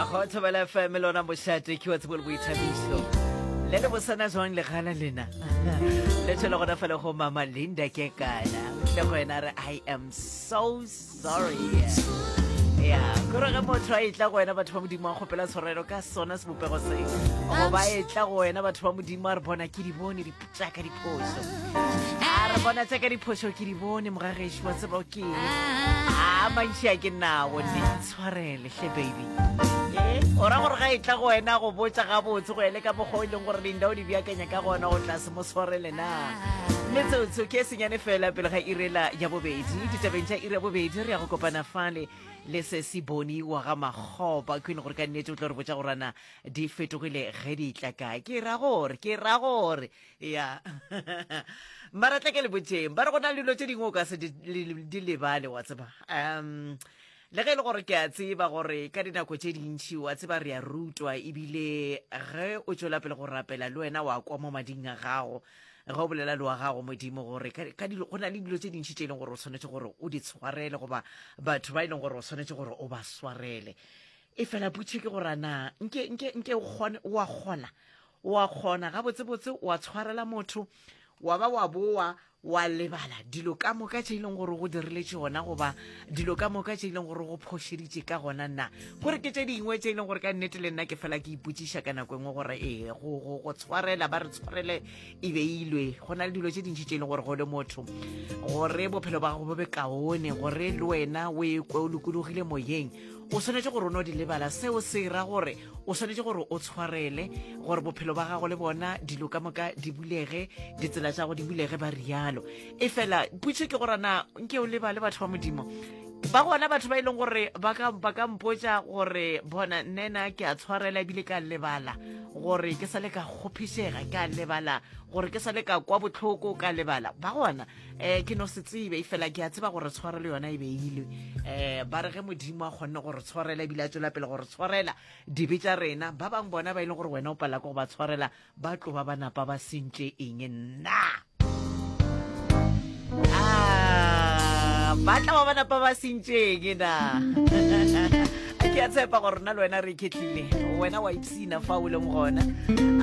Go Thobela FM lona mošate ke wa tsebo le boithabišo. Le le bosana jwang legala lena? Le tšwele gona fale go mama Linda ke kana. Le go yena re I am so sorry. Ya, kore ge motho a etla go wena batho ba modimo a kgopela tshwarelo ka sona sebopego se. Goba etla go wena batho ba modimo a re bona ke di bone di tšaka diphošo. A re bona tšaka diphošo ke di bone mogagešo wa tseba ke eng. A mantši a ke nawo ne tshwarele hle baby. Eh, o ra gore ga e tla go wena go botša gabotse go ele ka mokgwa o e leng gore Linda o di beakanya ka gona o tla se mo tshwarele na. Metsotso ke e senyane fela pele ga irela ya bobedi. Ditabeng tša iri ya bobedi re ya go kopana fale le se se boni wa ga Makgopa queen gore ka nnete o tlo re botša gore ana di fetogile ge di tla kae. Ke ra gore, ke ra gore ya mara tla ke le botšeng ba re go na le dilo tše dingwe o ka se di lebale wa tseba. Um Le ge e le gore ke a tseba gore ka dinako tše dintši wa tseba re a rutwa ebile ge o tšwela pele go rapela le wena wa kwa mo mading a gago ge o bolela le wa gago modimo gore ka dilo go na le dilo tše dintši tše e leng gore o swanetše gore o di tshwarele goba batho ba e leng gore o swanetše gore o ba swarele e fela putšhe ke gore na nke nke nke o kgone wa kgona wa kgona gabotsebotse wa tshwarela motho wa ba wa boa wa lebala dilo ka moka tše e leng gore go dirile tšona goba dilo ka moka tše e leng gore go phošeditše ka gona na gore ke tše dingwe tše e leng gore ka nnete le nna ke fela ke ipotšiša ka nako engwe gore ee go, go, go tshwarela ba re tshwarele e beilwe go na le dilo tše dintši tše e leng gore go le motho gore bophelo ba gago bo be kaone gore le wena o ekwe o lokologile moyeng o swanetše gore o no di lebala seo se ra gore o swanetše gore o tshwarele gore bophelo ba gago le bona dilo ka moka di bulege ditsela tša go di bulege ba rialo e fela putšo ke gore na nke o lebale batho ba modimo ba gona batho ba e leng gore ba ka ba ka mpotša gore bona nnena ke a tshwarela ebile ka lebala gore ke sa le ka kgophišega ka lebala gore ke sa le ka kwa botlhoko ka lebala ba gona um ke no se tsebe e fela ke a tseba gore tshwarelo yona e beilwe um ba re ge modimo a kgonne gore tshwarela ebile a tswela pele gore tshwarela dibe tša rena ba bangwe bona ba e leng gore wena o palela ke go ba tshwarela ba tlo ba ba napa ba sentše eng nna ah, ba tla ba ba napa ba sentšeng na ke a tshepa gore nna le wena re iketlile wena wa ipsina fa o leng gona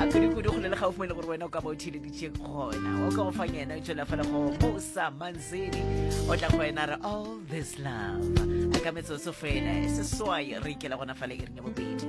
a kudu-kudu go le le gaufi mo e le gore wena o ka ba o theleditše gona o ka go fang yena o tšwela fela go musa manzini o tla go wena re all this love a ka metsotso fela e seswai re ikela gona fale iring ya bobedi.